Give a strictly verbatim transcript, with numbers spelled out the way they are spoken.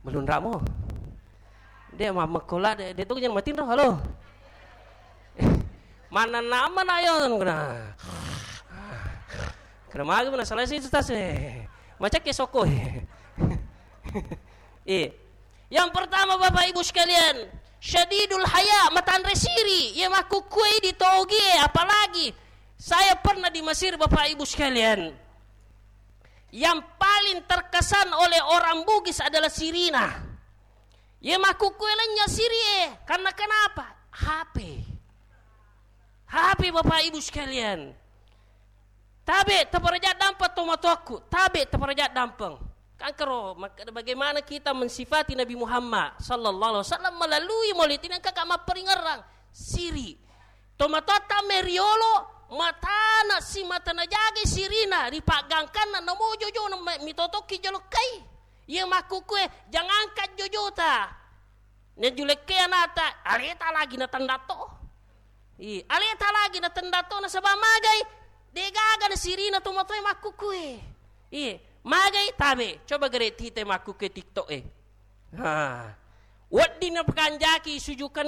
Belum ramo. De' mammekkola de', de' tu jangan matinro, halo. Mana nama na yo kena. Kena magi mana selesai itu tas, eh. Macam ke soko, eh. Eh. Yang pertama, Bapak Ibu sekalian, syadidul haya, matanre siri, iya makkukkue di togi, eh, apalagi saya pernah di Mesir, Bapak Ibu sekalian. Yang paling terkesan oleh orang Bugis adalah sirina. Iya makkukkue lenya siri, eh, karena kenapa? H P. H P, Bapak Ibu sekalian. Tabe' taparaja' dampeng tomatoakku, tabe' taparaja' dampeng. Kangkero, mak-, bagaimana kita mensifati Nabi Muhammad sallallahu alaihi wasallam melalui maulid ini, engka ka mapparingerrang siri. Tomatoatta meriolo, matana simata najagai sirina, ri paggangkanna namo jojona ma-, mitotokki jolo kai. Iya makkukkue, jangankan jojota. Najulekke anata, aleta lagi natendatto. Ih, aleta lagi natendatto nasaba magai, de'gaga na sirina tomatoe makkukkue. Ih, magai tabe, coba gere tite makkukkue TikTok e. Ha. Wedding napakanjaki sujukan